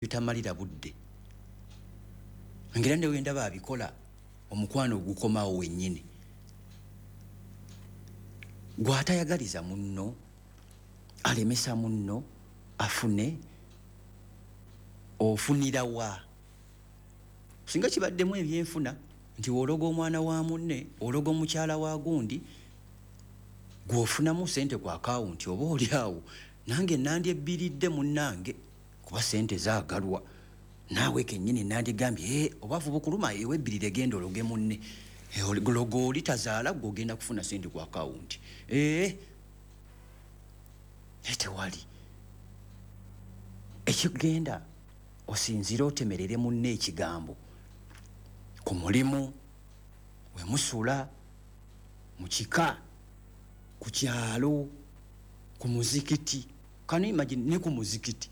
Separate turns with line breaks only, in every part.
Bitamalira budde ngera ne wendaba abikola omukwano ogukomawo wennyini gw'atayagaliza munno, alemesa munno afune, ofunira wa? Singa kibaddemu ebyenfuna nti w'ologa omwana wa munne, ologa omukyala wa gundi, gw'ofunamu ssente ku akawunti, oba oli awo nange nandyebbiridde munnange kuba ssente zaagalwa. Naawe kennyini nandigambye, "Eh, obwavu bukuluma, ewebbirire, genda ologe munne. Eh, loga oli tazaala, gwe ogenda kufuna ssente ku akawunti." Eh, naye tewali ekigenda osinzire otemerere munne ekigambo ku mulimu wemusula, mu kika, ku kyalo, ku muzikiti. Can you imagine ne ku muzikiti?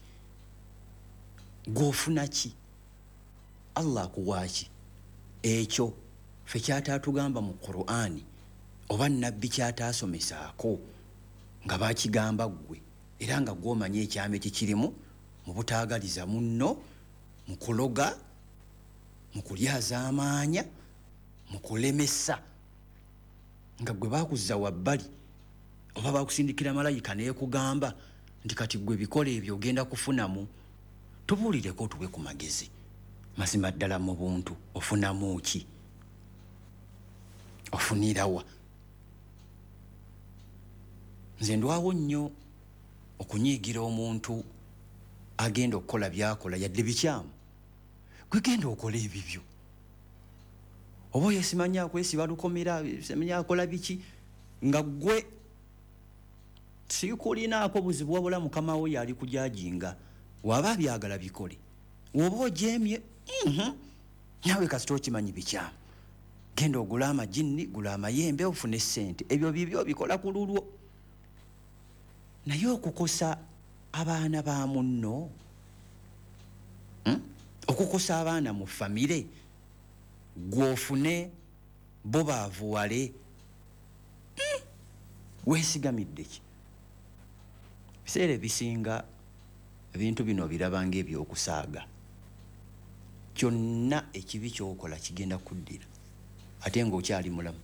Gw'ofuna ki? Allah akuwa ki? Ekyo ffe kyataatugamba mu Qur'ani oba nabbi kyataasomesaako nga bakigamba ggwe, era nga gw'omanyi ekyama ekikirimu mu butaagaliza munno, mu kuloga, mu kulyazaamaanya, mu kulemesa, nga gwe bakuzza wabbali oba bakusindikira malayika neekugamba nti kati gwe bikola ebyo ogenda kufunamu. Tubuulireko, otuwe ku magezi. Mazima ddala mu buntu ofunamu ki? Ofunirawa? Nze ndwawo nnyo okunyiigira omuntu agenda okukola byakola yadde bikyamu. Gwe genda okola ebibyo, oba oyo simanyi akwesiba lukomera, simanyi akola biki, nga gwe sikulinaako buzibu, wabula mukama wo yali kujajinga. Waba abyagala bikole, woba ojemye, naawe kasita okimanyi bikyamu, genda ogule amajinni, gula amayembe, ofune sente. Ebyo bibyo, bikola ku lulwo. Naye okukosa abaana ba munno, Okukosa abaana mu famire, gw'ofune bo baavuwale, Weesigamidde ki? Biseera ebisinga ebintu bino obiraba ng'ebyokusaaga. Kyonna ekibi ky'okola kigenda kuddira ate ng'okyali mulamu.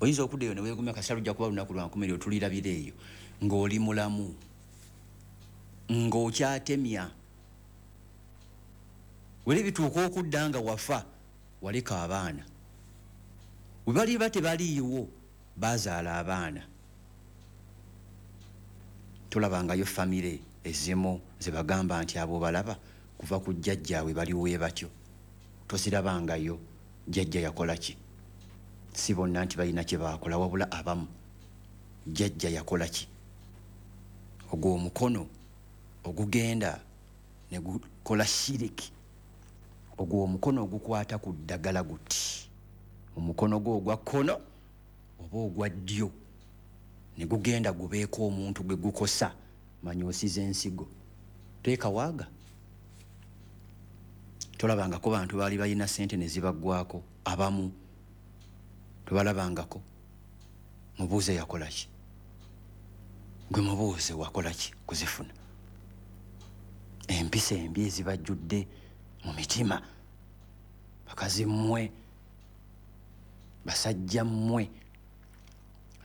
Oyinza okudda eyo ne weegumya, kasita lujja kuba lunaku lwa nkomerero, tulirabira eyo ng'oli mulamu, ng'okyatemya. Weri bituuka okudda nga wafa, waleka abaana. We baliba tebaliiwo, bazaala abaana. Tolabangayo famire ezimu ze bagamba nti abo balaba kuva ku jjajjaabwe baliwe batyo? Tozirabangayo. Jjajja yakola ki? Si bonna nti balina kye baakola, wabula abamu. Jjajja yakola ki? Ogwo omukono ogugenda ne gukola shiriki, ogwo omukono ogukwata ku ddagala guti, omukono gwo ogwa kkono oba ogwa ddyo, ne gugenda gubeeko omuntu gwe gukosa, manya osiza ensigo. Teekawaaga. Tolabangako bantu baali balina sente ne zibaggwako? Abamu tobalabangako? Mubuuze yakola ki. Gwe mubuuze wakola ki kuzifuna. Empisa embi ezibajjudde mu mitima, bakazi mmwe, basajja mmwe,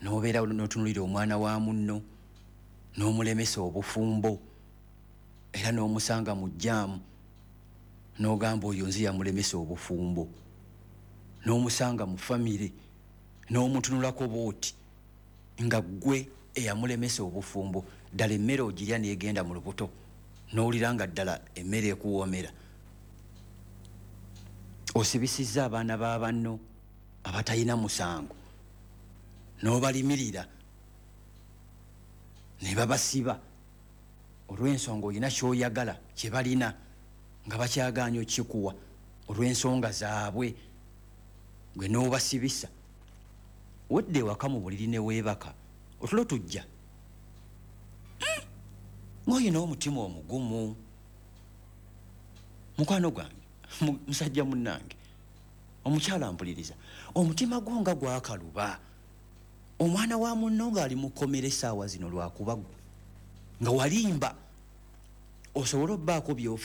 n'obeera n'otunulira omwana wa munno n'omulemesa obufumbo, era n'omusanga mu jjaamu n'ogamba oyo nze yamulemesa obufumbo, n'omusanga mu famire n'omutunulako bwoti nga ggwe eyamulemesa obufumbo. Ddala emmere ogirya n'egenda mu lubuto n'owulira nga ddala emmere ekuwoomera? Osibisizza abaana ba banno abatalina musango n'obalimirira ne babasiba olw'ensonga olina ky'oyagala kye balina nga bakyagaanya okukikuwa olw'ensonga zaabwe, gwe n'obasibisa. Wedda ewaka mu buliri ne weebaka, otulo tujja ng'olina omutima omugumu. Mukwano gwange, musajja munnange, omukyala mpuliriza, omutima gwo nga gwakaluba, omwana wa munno ng'ali mu kkomera essaawa zino lwakuba ggwe nga walimba. Osobole obbaako by'ofuna.